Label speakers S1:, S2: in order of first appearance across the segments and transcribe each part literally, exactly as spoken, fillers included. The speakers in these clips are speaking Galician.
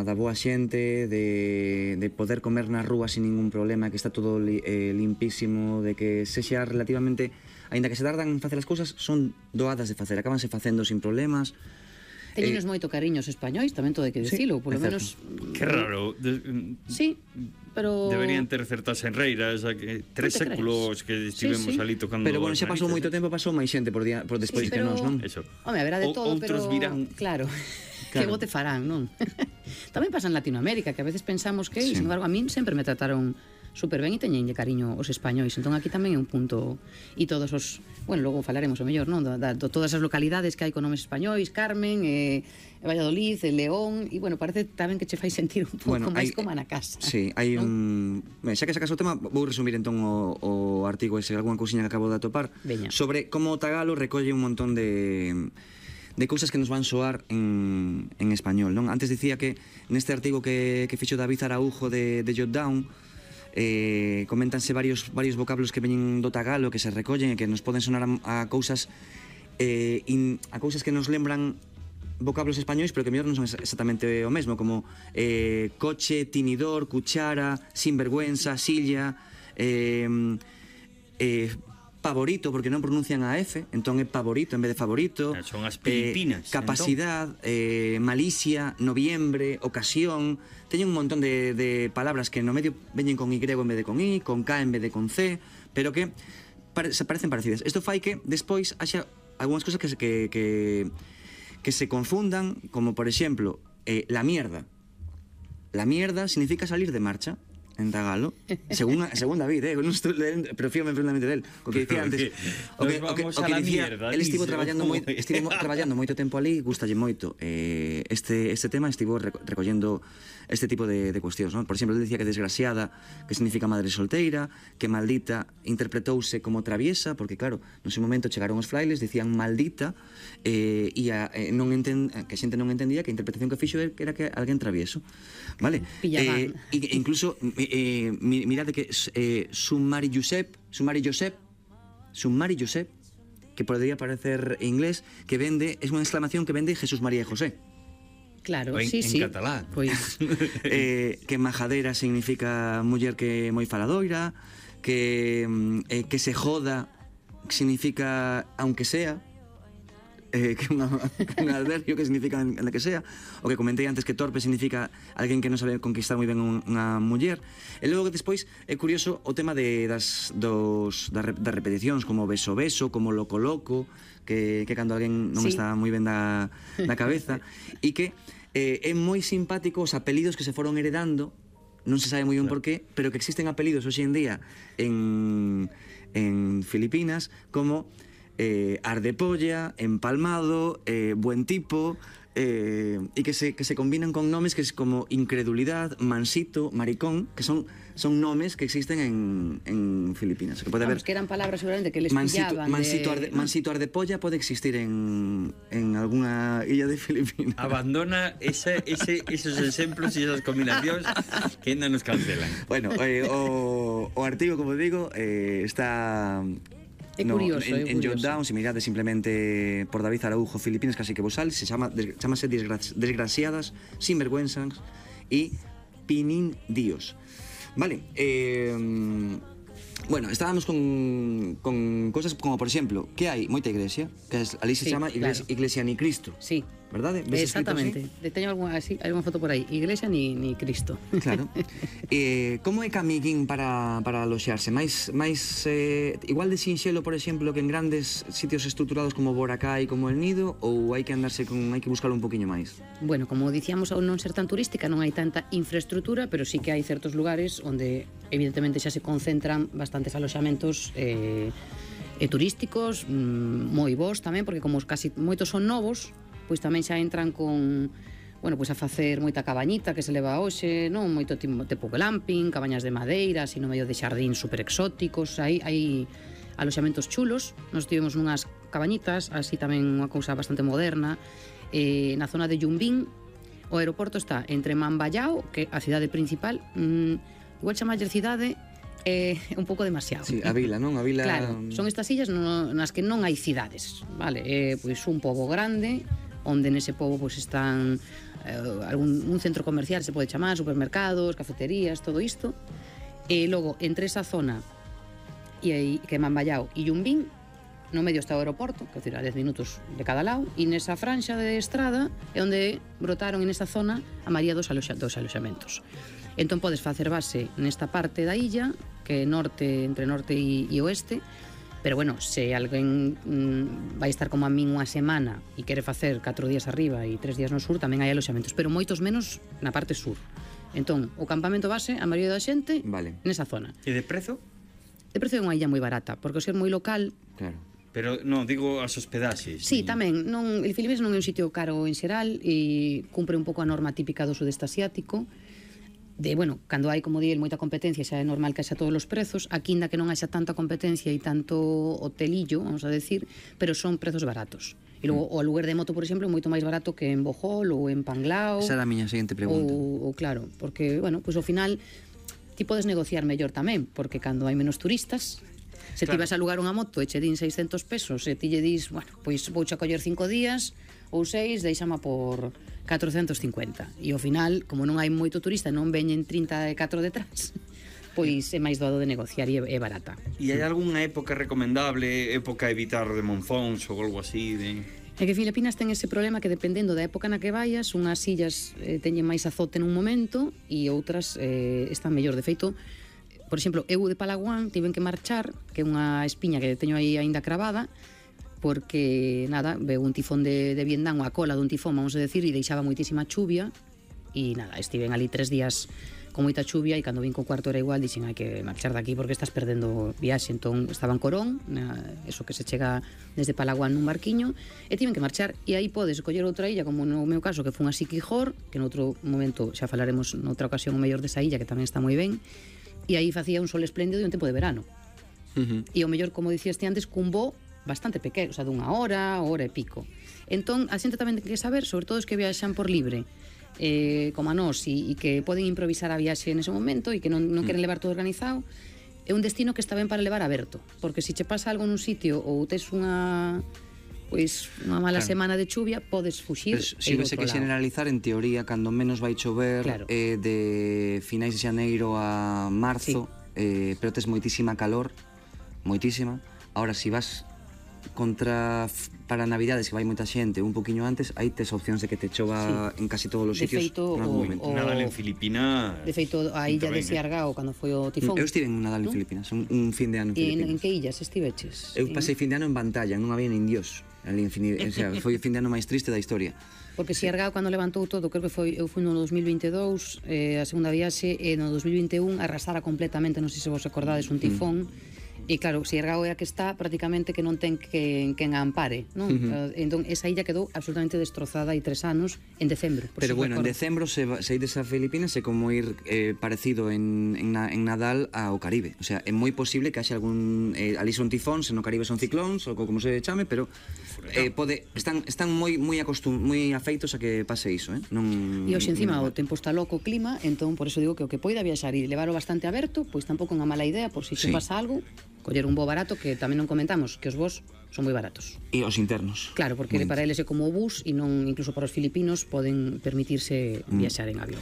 S1: da boa xente, de, de poder comer na rúa sin ningún problema, que está todo li, eh, limpísimo, de que sexa relativamente, aínda que se tardan en facer as cousas, son doadas de facer, acabanse facendo sin problemas.
S2: Teñenos eh, moito cariño os españois, tamén todo hai que dicilo, sí, polo menos...
S3: Que raro. De,
S2: sí, pero...
S3: Deberían ter certas enreiras, que tres séculos que estivemos sí, sí. ali tocando...
S1: Pero bueno, xa pasou moito tempo, pasou máis xente por, día, por despois sí, pero... que nós, non?
S3: Eso.
S2: Home, haberá de todo,
S3: o, outros
S2: pero...
S3: virán...
S2: Claro, claro. Que bote farán, non? Tamén pasa en Latinoamérica, que a veces pensamos que, sí. sin embargo, a min sempre me trataron super ben e teñenlle cariño os españois, entón aquí tamén é un punto, e todos os, bueno, logo falaremos o mellor, non, de, de, de todas as localidades que hai con nomes españois, Carmen, eh, Valladolid, eh, León, e bueno, parece tamén que che fai sentir un pouco bueno, máis como na casa.
S1: Sí, hai un... Ben, xa que sacas o tema, vou resumir entón o, o artigo ese, algunha cousiña que acabo de atopar,
S2: Veña.
S1: Sobre como o tagalo recolle un montón de... de cousas que nos van soar en, en español, non? Antes dicía que neste artigo que, que fixo David Araujo de, de Jotdown, eh, comentanse varios, varios vocablos que veñen do tagalo, que se recollen e que nos poden sonar a, a cousas eh, in, a cousas que nos lembran vocablos españois, pero que mellor non son exactamente o mesmo, como eh, coche, tinidor, cuchara, sinvergüenza, silla, eh, eh, favorito, porque non pronuncian a F, entón é favorito en vez de favorito.
S3: Son as Filipinas.
S1: Eh, capacidad, entón. eh, malicia, noviembre, ocasión. Teñen un montón de, de palabras que no medio veñen con Y en vez de con I, con K en vez de con C, pero que pare, se parecen parecidas. Isto fai que despois haxa algunhas cosas que, que, que, que se confundan, como por exemplo, eh, la mierda. La mierda significa salir de marcha en tagalo, según, según David, eh, non estou lendo, pero fíame profundamente del, o que dicía antes, o que, o que, o que dicía, el estivo traballando moi, estivo traballando moito tempo ali, gustalle moito eh, este, este tema, estivo recollendo este tipo de, de cuestións, non? Por exemplo, ele dicía que desgraciada, que significa madre solteira, que maldita interpretouse como traviesa, porque claro, no seu momento chegaron os frailes, dicían maldita, eh, e a, eh, non enten, que a xente non entendía que a interpretación que fixo era que alguén travieso, vale? Eh, e incluso eh, mirade que eh, Sumari Josep, Sumari Josep, Sumari Josep, que podría parecer en inglés, que vende, es unha exclamación que vende Jesús María e José.
S2: Claro,
S3: en,
S2: sí,
S3: en
S2: sí.
S3: catalán.
S2: Pois
S1: eh, que majadera significa muller que moi faladoira, que eh, que se joda significa aunque sea, eh, que unha, un adverbio que significa en la que sea, o que comentei antes que torpe significa alguén que non sabe conquistar moi ben unha muller. E logo que despois é curioso o tema de, das, dos, das, das repeticións, como beso beso, como loco loco, que, que cando alguén non sí. está moi ben da, da cabeza, e que eh, é moi simpático os apelidos que se foron heredando, non se sabe moi ben por qué, pero que existen apelidos hoxe en día en, en Filipinas como eh, ardepolla, empalmado, eh, buen tipo, eh, e que se, que se combinan con nomes que es como incredulidad, mansito, maricón, que son, son nomes que existen en, en Filipinas. Que pode
S2: Vamos,
S1: haber,
S2: que eran palabras seguramente que les
S1: mansito,
S2: pillaban
S1: mansito,
S2: de...
S1: arde, mansito ardepolla pode existir en, en alguna illa de Filipinas.
S3: Abandona ese, ese, esos exemplos e esas combinacións que ainda nos cancelan.
S1: Bueno, eh, o, o artigo, como digo, eh, está...
S2: É curioso,
S1: no, en,
S2: é
S1: en
S2: curioso.
S1: Jotdown, se mirade simplemente por David Araujo, Filipinas, casi que vos sale, se chama, des, chamase desgra, Desgraciadas, Sinvergüenzas e Pinindíos. Vale, eh, bueno, estábamos con, con cosas como, por exemplo, que hai moita iglesia, que es, ali se
S2: sí,
S1: chama Iglesia,
S2: claro.
S1: Iglesia ni Cristo.
S2: Sí.
S1: ¿Verdade?
S2: Exactamente. Teño algunha, así, algunha foto por aí. Iglesia ni, ni Cristo.
S1: Claro. Eh, como é camiguín para, para aloxarse? Mais, máis eh, igual de sinxelo, por exemplo, que en grandes sitios estruturados como Boracay, como El Nido, ou hai que andarse con, hai que buscarlo un poquinho máis?
S2: Bueno, como dicíamos, ao non ser tan turística non hai tanta infraestructura, pero sí que hai certos lugares onde evidentemente xa se concentran bastantes aloxamentos eh, e turísticos, mmm, moi bons tamén, porque como casi moitos son novos, pois tamén xa entran con, bueno, pois a facer moita cabañita que se leva hoxe, non? Moito tipo glamping, cabañas de madeira, así no medio de xardín super exóticos, aí hai aloxamentos chulos. Nos tivemos nunhas cabañitas, así tamén unha cousa bastante moderna, eh, na zona de Yumbín. O aeroporto está entre Mambayao, que é a cidade principal, mmm, igual chamalle cidade, é eh, un pouco demasiado.
S1: Sí, a vila, non? A vila...
S2: Claro, son estas illas no, nas que non hai cidades, vale? É, pois un pobo grande, onde nese pobo pois están eh, algún un centro comercial se pode chamar, supermercados, cafeterías, todo isto. E logo, entre esa zona e aí, que é Mamballao e Yumbín, no medio está o aeroporto, que é a dez minutos de cada lado, e nesa franxa de estrada é onde brotaron en esa zona a maioría dos, aloxa, dos aloxamentos. Entón podes facer base nesta parte da illa, que é norte, entre norte e, e oeste, pero bueno, se alguén mm, vai estar como a min unha semana e quere facer catro días arriba e tres días no sur, tamén hai aloxamentos, pero moitos menos na parte sur. Entón, o campamento base, a maioría da xente,
S1: Vale.
S2: nesa zona.
S3: E de prezo?
S2: De precio é unha illa moi barata, porque o ser moi local.
S1: Claro.
S3: Pero, non, digo as hospedaxes.
S2: Sí,
S3: e...
S2: tamén, non, el Filipines non é un sitio caro en xeral e cumpre un pouco a norma típica do sudeste asiático. De, bueno, cando hai, como di, moita competencia, xa é normal que haxa todos os prezos, aquí ainda que non haxa tanta competencia e tanto hotelillo, vamos a decir, pero son prezos baratos. E logo, o aluguer de moto, por exemplo, é moito máis barato que en Bohol ou en Panglao.
S1: Esa era a miña seguinte pregunta.
S2: Ou, ou claro, porque, bueno, pois ao final ti podes negociar mellor tamén, porque cando hai menos turistas, se ti
S3: Claro.
S2: vas a alugar unha moto e che din seiscentos pesos, e ti lle dis, bueno, pois vouche a coller cinco días ou seis, deixama por catrocentos cincuenta. E ao final, como non hai moito turista, non veñen trinta e catro detrás, pois é máis doado de negociar e é, é barata.
S3: E hai algunha época recomendable, época a evitar de monzóns ou algo así? De...
S2: É que Filipinas ten ese problema que dependendo da época na que vayas, unhas illas eh, teñen máis azote nun momento e outras eh, están mellor. De feito, por exemplo, eu de Palawan tiven que marchar, que é unha espiña que teño aí aínda cravada, porque, nada, veu un tifón de, de Vietnam, a cola dun tifón, vamos a decir, e deixaba moitísima chuvia, e nada, estiven ali tres días con moita chuvia, e cando vin co cuarto era igual, dixen, hai que marchar daqui porque estás perdendo viaxe. Entón, estaba en Corón, na, eso que se chega desde Palawan nun barquiño, e tiven que marchar, e aí podes coller outra illa, como no meu caso, que foi a Siquijor, que noutro momento xa falaremos noutra ocasión o mellor desa illa, que tamén está moi ben, e aí facía un sol espléndido e un tempo de verano.
S1: Uh-huh.
S2: E o mellor, como dicías ti antes, cun voo bastante pequeno, o sea, dunha hora, hora e pico. Entón, a xente tamén ten que saber, sobre todo os que viaxan por libre, eh, como a nós, e, e que poden improvisar a viaxe nese momento e que non, non queren levar todo organizado, é un destino que está ben para levar aberto, porque se che pasa algo nun sitio ou tes unha pois unha mala
S1: Claro.
S2: semana de chuvia, podes fuxir.
S1: Pues, si vese que generalizar, en teoría, cando menos vai chover,
S2: Claro.
S1: eh, de finais de xaneiro a marzo, eh, pero tes moitísima calor, moitísima. Ahora, si vas contra f- para Navidades, que vai moita xente, un poquiño antes, aí tes opcións de que te chova en casi todos os
S2: De
S1: sitios
S2: feito,
S1: en
S2: o-
S1: algún momento.
S2: o-
S3: Nadal en Filipinas...
S2: De feito, a illa de
S3: Pinta ben, eh?
S2: Siargao, cando foi o tifón.
S1: Eu estive en un Nadal en
S2: Non?
S1: Filipinas, un, un fin de ano en
S2: E en,
S1: Filipinas.
S2: en que illas estiveches?
S1: Eu pasei fin de ano en Pantalla, non había nin Dios. Ali en fin, o sea, foi o fin de ano máis triste da historia.
S2: Porque Siargao, cando levantou todo, creo que foi, eu fui no dos mil veintidous, eh, a segunda viaxe, e no dos mil vinte e un arrasara completamente, non sei se vos acordades, un tifón. E claro, Siargao é a que está prácticamente que non ten que, quen a ampare, non? Uh-huh. Entón, esa illa quedou absolutamente destrozada hai tres anos en decembro. por
S1: Pero
S2: si
S1: bueno, en
S2: recordas.
S1: decembro se, va- se ides a Filipinas é como ir eh, parecido en, en, na, en Nadal ao Caribe. O sea, é moi posible que haxe algún... Eh, ali son tifóns, no Caribe son ciclóns, ou como se chame, pero eh, pode, están, están moi moi acostum, moi afeitos a que pase iso, eh? Non,
S2: E hoxe encima
S1: non-
S2: o tempo está loco, o clima, entón por eso digo que o que poida viaxar e levarlo bastante aberto, pois tampouco é unha mala idea, por si
S1: Sí.
S2: te pasa algo, coller un voo barato, que tamén non comentamos que os voos son moi baratos.
S1: E os internos.
S2: Claro, porque
S1: Moi
S2: para eles é como o bus e non incluso para os filipinos poden permitirse
S1: Mm.
S2: viaxar en avión.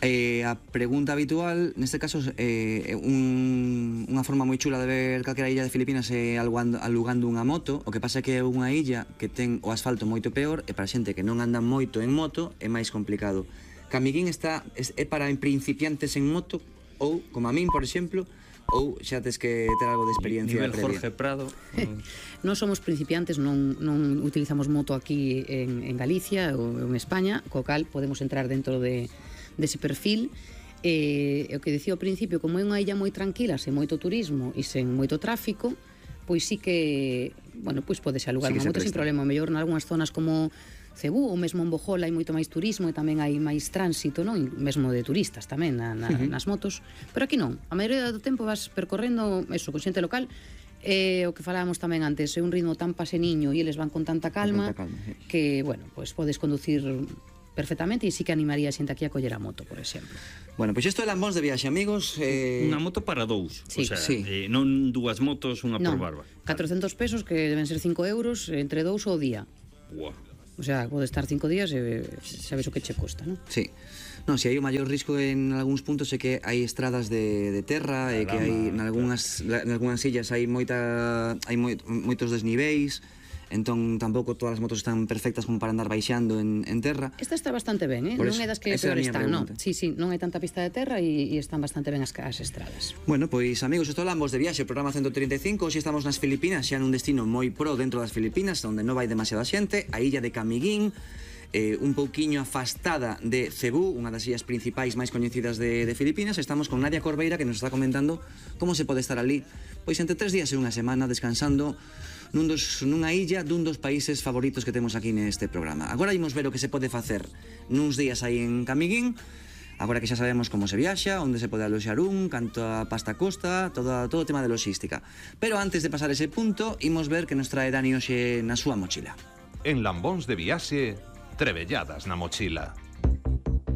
S1: Eh, a pregunta habitual, neste caso, eh, un, unha forma moi chula de ver calquera illa de Filipinas é alugando, alugando unha moto. O que pasa é que é unha illa que ten o asfalto moito peor, e para xente que non anda moito en moto é máis complicado. Camiguín está, é, é para principiantes en moto, ou, como a min, por exemplo, ou xa tes que ter algo de experiencia
S3: Nivel
S1: previa.
S3: Jorge Prado.
S2: Non somos principiantes, non, non utilizamos moto aquí en, en Galicia ou en España, co cal podemos entrar dentro de dese perfil. E o que dicía ao principio, como é unha illa moi tranquila, sen moito turismo e sen moito tráfico, pois sí que, bueno, pois podes alugar
S1: Sí que
S2: unha
S1: se
S2: moto sin
S1: presta.
S2: problema. O mellor nalgúnas zonas como Cebú ou mesmo en Bohol hai moito máis turismo e tamén hai máis tránsito, non? E mesmo de turistas tamén na, na, uh-huh. nas motos. Pero aquí non. A maioría do tempo vas percorrendo eso, con xente local. E o que falábamos tamén antes, é un ritmo tan paseniño e eles van con tanta calma,
S1: Con tanta calma, sí.
S2: que, bueno, pois podes conducir perfectamente, e sí que animaría a xente aquí a coller a moto, por exemplo.
S1: Bueno, pois isto é Lambóns de viaxe, amigos. Eh...
S3: Unha moto para dous.
S2: Sí.
S3: O sea,
S1: Sí.
S3: eh, non dúas motos, unha
S2: Non,
S3: por barba.
S2: catrocentos pesos, que deben ser cinco euros, entre dous ao día.
S3: Buah.
S2: O sea, pode estar cinco días e sabes o que che custa, non?
S1: Sí. Non, se hai o maior risco en algúns puntos é que hai estradas de, de terra e que hai nalgúnas, nalgúnas illas hai moita hai moi, moitos desniveis, entón tampouco todas as motos están perfectas como para andar baixando en, en terra.
S2: Esta está bastante ben, eh?
S1: Por
S2: Non
S1: eso,
S2: é das que
S1: esa
S2: peor
S1: era a miña
S2: están, non?
S1: pregunta.
S2: Sí, sí, non hai tanta pista de terra e, e están bastante ben as, as estradas.
S1: Bueno, pois amigos, isto hablamos de viaxe, o programa ciento trinta e cinco, hoxe estamos nas Filipinas, xa nun destino moi pro dentro das Filipinas, onde non vai demasiada xente, a illa de Camiguín, eh, un pouquiño afastada de Cebú, unha das illas principais máis coñecidas de, de Filipinas. Estamos con Nadia Corbeira, que nos está comentando como se pode estar ali, pois entre tres días e unha semana descansando nun dos, nunha illa dun dos países favoritos que temos aquí neste programa. Agora imos ver o que se pode facer nuns días aí en Camiguín, agora que xa sabemos como se viaxa, onde se pode aloxar un, canto a pasta costa, todo, todo o tema de logística. Pero antes de pasar ese punto, imos ver que nos trae Dani hoxe na súa mochila.
S4: En Lambóns de Viaxe, trebelladas na mochila.